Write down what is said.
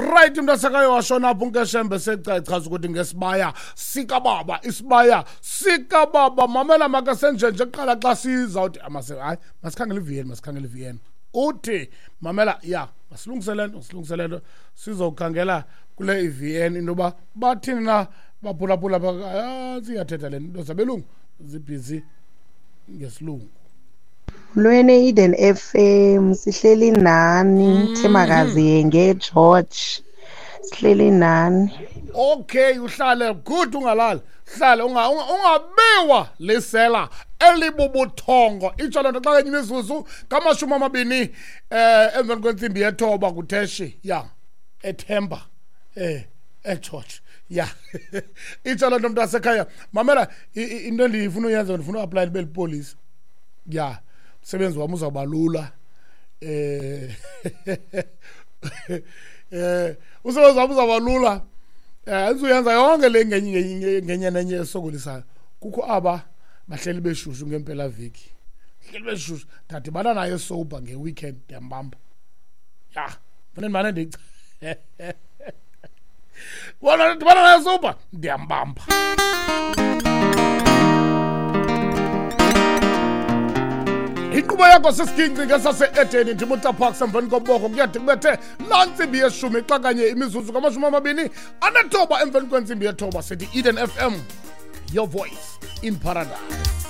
Right, mntasekayo, washona apho unkeshembe sechaza ukuthi ngesibaya sikababa, isibaya sikababa. Mamela, makasenjenje kuqala xa sizawuthi hayi, masikhangele iVN, masikhangele iVN. Uthi mamela, ya, masilungise le nto, masilungise le nto, sizokhangela kule iVN into yoba bathini na. Baphulaphula, siyathetha le nto zabelungu, zibhizi ngesilungu. Lwene Eden FM, sihleli nani. Themakazi ngeGeorge, sihleli nani. Okay, uhlale good, ungalali, hlale ungabiwa lisela elibubuthongo. Itsho loo nto xa kenye imizuzu kama-20 emveni kwentsimbi yethoba kutheshi ya ethemba eGeorge. Ya, itsho loo nto, mntasekhaya. Mamela, into endifuna uyenza, ndifuna uapply libe lipolisa. Ya, umsebenzi wam uzawuba lula, umsebenzi wam uzawuba lula, andizuyenza yonke le ngenye ngenye nenye esokolisayo. Kukho aba bahleli beshushu ngempelaveki, hleli beshushu, ndadibana naye sober ngeweekend, ndiyambamba. Ya, fune ndimane ndica bona, ndidibana naye sober, ndiyambamba. Inkqubo yakho sisiginci ngesase-Edeni, ndimutaparks emveni koboko. Kuyade kubethe laa ntsimbi yeshumi xa kanye imizuzu kama-29 emveni kwentsimbi yethoba. Sithi Eden FM, your voice in paradise.